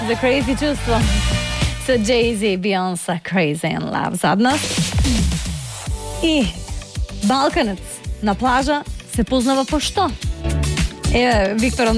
The Crazy чувство со Jay-Z и Beyoncé, Crazy in Love зад нас. И Балканец на плажа се познава по што? Еве, Виктор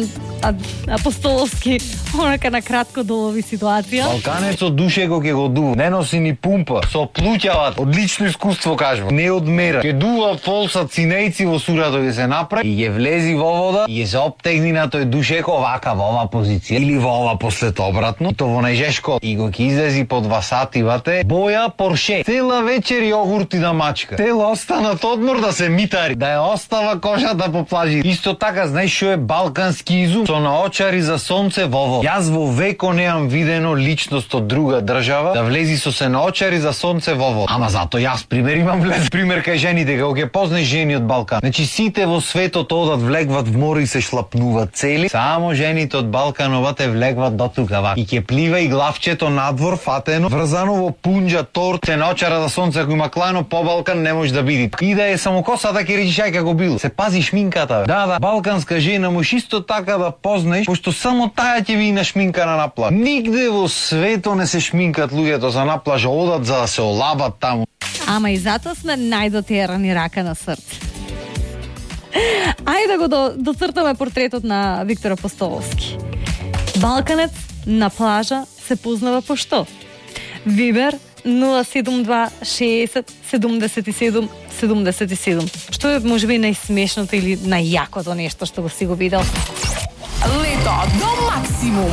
Апостоловски, онака на кратко долови ситуација. Балканецот душе го ќе го дува. Не носи ни пумпа. Со плуќават. Одлично искуство кажува. Не одмера. Ќе дува полса цинејци во сурато ќе се направи и ќе влези во вода и ќе се оптегни на тој душеко вака во ова позиција или во ова послед обратно. И то во најжешко. И го ќе излези по 2 сати вате. Боја Порше. Цела вечер јогурти да мачка. Цела останат одмор да се митари. Да ја остава кожата по плажи. Исто така, знаеш што е балкански изум? Со наочари за сонце во вода. Јас во веко неам видено личност од друга држава да влези со се наочари за сонце во вода. Ама зато јас пример имам влез. Пример кај жените, кога ќе познаеш жени од Балкан. Значи сите во светот одат влегват в море и се шлапнуваат цели. Само жените од Балкановате влегват до тука вака. И ќе плива и главчето надвор фатено, врзано во пунџа торт, се наочара за сонце, ако има клано по Балкан не може да биде. И да е само косата ќе речиш ај како бил. Се пази шминката. Да, балканска жена можеш исто така да познаеш, пошто само таа ќе ви нашминкана на плаж. Нигде во светот не се шминкат луѓето за на плажа, одат за да се олабат таму. Ама и затоа сме најдотерани рака на срце. Ајде да го доцртаме портретот на Виктор Апостоловски. Балканец на плажа се познава по што? Вибер 072 60 77 77. Што е можеби најсмешното или најјакото нешто што го си го видел? Лето до максимум.